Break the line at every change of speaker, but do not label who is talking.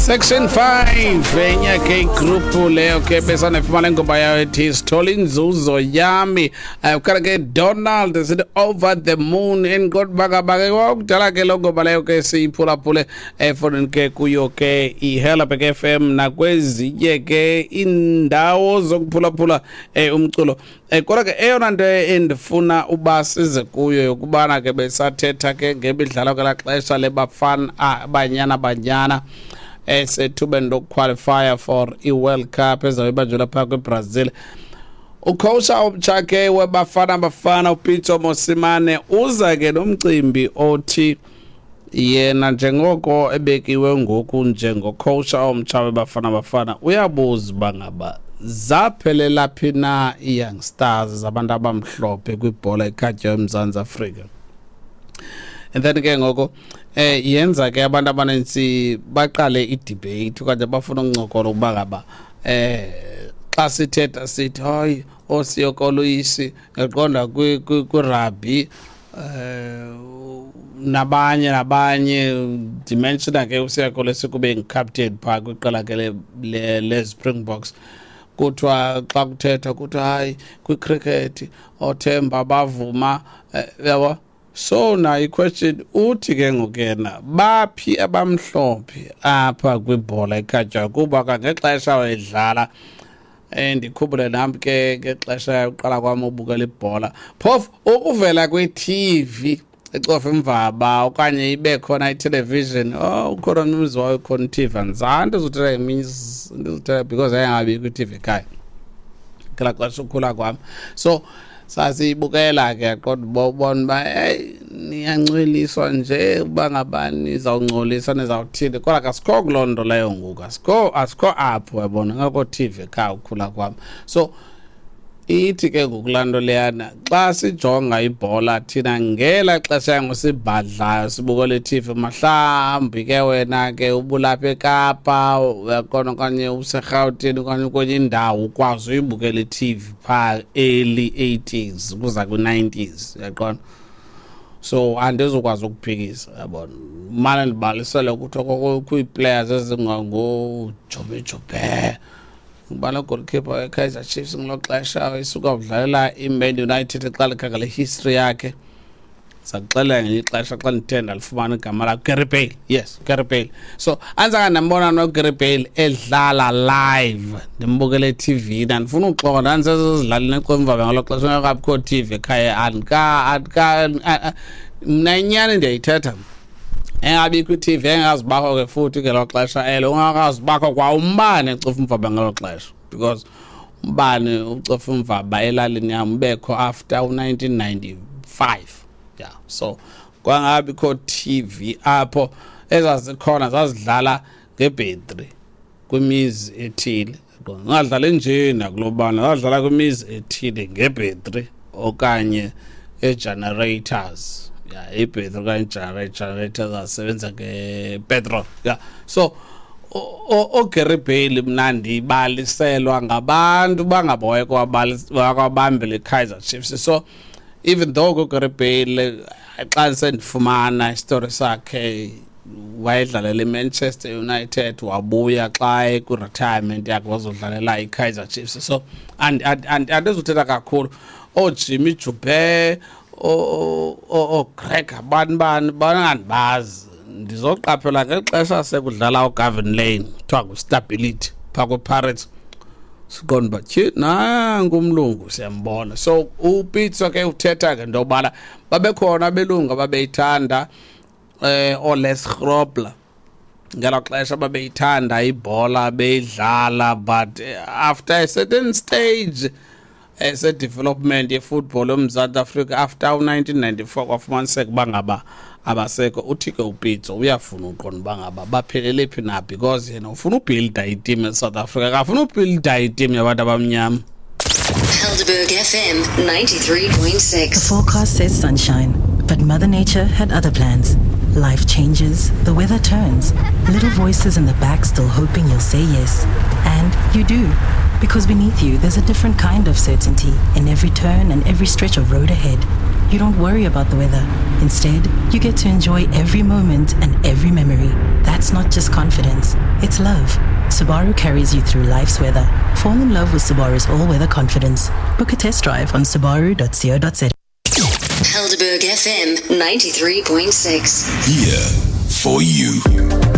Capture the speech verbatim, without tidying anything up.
Section five enye ke igroup leyo ke besanefumana ingoma yayo ethi "Sithola Inzuzo Yami". um khala ke Donald sithi "Over the Moon". Endiqonda uba ngaba ke kwakudala ke loo ngoma leyo ke siyiphulaphule efowunini ke kuyo ke iHelberg F M nakwezinye ke iindawo zokuphulaphula um umculo. um kodwa ke eyona nto endifuna uba size kuyo yokubana ke besathetha ke ngemidlalo ngelaa xesha leBafana Banyana Banyana esethubeni lokuqualifya for i-World Cup ezabe ibanjelwa phaa kwiBrazil. Ucoach omtsha ke weBafana Bafana, uPitso Mosimane, uza ke nomcimbi othi yena njengoko ebekiwe ngoku njengocoach omtsha weBafana Bafana, uyabuza uba ngaba zaphelela phi na ii-young stars zabantu abamhlophe kwibhola ekhatywayo eMzantsi Afrika. And then ke ngoko eh yenza ke abantu abanintsi baqale idebate okanye bafuna ukuncokola ukuba ngaba eh xa sithetha sithi hayi, ooSiya Kolisi, eqonda kwirugby, eh nabanye nabanye. Ndimentiona ke uSiya Kolisi kube ngicaptain phaa kwiqela ke le-Springboks. Kuthiwa xa kuthethwa kuthiwa hayi, kwicricket oThemba Bavuma, yabo. So nayo iquestion uthi ke ngoku yena, baphi abamhlophe apha kwibhola ekhatywayo? Kuba kangexesha wayedlala, um ndikhumbule nam ke ngexesha uqala kwam ubukela ibhola, phofu ukuvela kwi-T V ecofa imvaba okanye ibe khona itelevision. Oh, ukhona omnye umzi wayo khona i-T V. Andizange ndizothetha ngeminye, ndizothetha because yayingabikho i-T V ekhaya ngelaa xesha ukhula kwam. So sasiyibukela ke, qonda uba ubona uba heyi, niyancweliswa nje uba ngaba nizawungcolisa, nizawuthini, kodwa kasikho kuloo nto leyo ngoku, asikho asikho apho, yabona, ngakho T V ekhaya ukhula kwam. So ithi ke ngoku laa nto leyana, xa sijonga ibhola thina ngela xesha yango sibhadlayo sibukela i-T V, mhlawumbi ke wena ke ubulapha eKapa, uyaqonda, okanye useRhawutini okanye kwenye indawo, ukwazi uyibukela i-T V phaa early eighties ukuza kwi-nineties, uyaqonda. So andizukwazi ukuphikisa, yabona, mane ndibalisele ukuthi kwii-players ezingangoJobe Jobe, ngubani goalkeeper weKaizer Chiefs ngelo xesha isuka kudlalela iMan United, xa likhangela history yakhe sakuxelela ngelinye ixesha xa ndithe ndalifumana igama lakhe, Gary Bale. Yes, Gary Bale. So andizange ndambona noGary Bale edlala live, ndimbukele e-T V. Ndandifuna uxoka, ndandisezidlaleni eCofimvaba ngelo xesha, ngekabikho T V ekhaya. Andika andika mna inyani ndiyayithetha, engabikho i-T V, engazibakho ke futhi ngelo xesha elo, ungakazibakho kwa umbane eCofimvaba ngelo xesha, because umbane uCofimvaba elalini yam ubekho after u-nineteen ninety-five. Yeah, so kwangabikho T V apho, ezazikhona zazidlala ngebhetri kwimizi ethile, ngadlala nje nakulobana zadlala kwimizi ethile ngebhetri okanye e-generators. Yeah, ibhetri okanye generator zasebenza ngepetrol. Yeah, so oGary Bale mna ndibaliselwa ngabantu bangabawayeko wakwabambela iKaizer Chiefs. So even though kuGary Bale, xa sendifumana isitori sakhe, wayedlalela iManchester United, wabuya xa kwi-retirement yakhe wazodlalela iKaizer Chiefs. So andizuthetha kakhulu ooJimmy Joubert, ooGreg, abani bani bangandibazi. Ndizoqaphela ngexesha sekudlala uGavin Lane, kuthiwa nguStability phaa kwiPirates, siqonda uba tyhi, nanku umlungu siyambona. So uPitso ke uthetha ngento yobana babekhona abelungu ababeyithanda, eh ooLes Grobler ngelo xesha babeyithanda ibhola, beyidlala, but after a certain stage ese-development yefootball yoMzantsi Afrika after u-nineteen ninety-four, kwafumaniseka uba ngaba abasekho. Uthi ke uPitso uyafuna uqonda uba ngaba baphelele phi na, because yena ufuna ubuilda iteam eSouth Africa, akafuna ubuilda iteam yabantu abamnyama.
Helderberg F M ninety-three point six.
The forecast says sunshine, but Mother Nature had other plans. Life changes, the weather turns, little voices in the back still hoping you'll say yes. And you do. Because beneath you, there's a different kind of certainty in every turn and every stretch of road ahead. you don't worry about the weather. Instead, you get to enjoy every moment and every memory. That's not just confidence, it's love. Subaru carries you through life's weather. Fall in love with Subaru's all-weather confidence. Book a test drive on subaru dot co dot za.
Helderberg F M ninety-three point six.
Here for you.